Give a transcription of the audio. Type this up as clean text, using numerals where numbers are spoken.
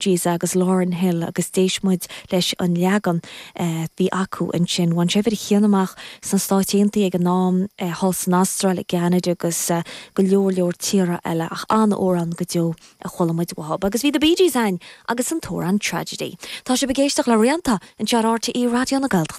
Gees agus Lauryn Hill agus d'éist muid leis an leagan a bhí acu ansin. Bhain sé uimhir a haon amach sna Stáit Aontaithe ag an am, thall san Astráil, i gCeanada agus go leor leor tíortha eile ach an-amhrán go deo a chuala muid uathub. Agus bhí The Bee Gees ann agus an t-amhrán Tragedy. Tá sibh ag éisteacht le Rianta anseo ar RTÉ Raidió na Gaeltachta.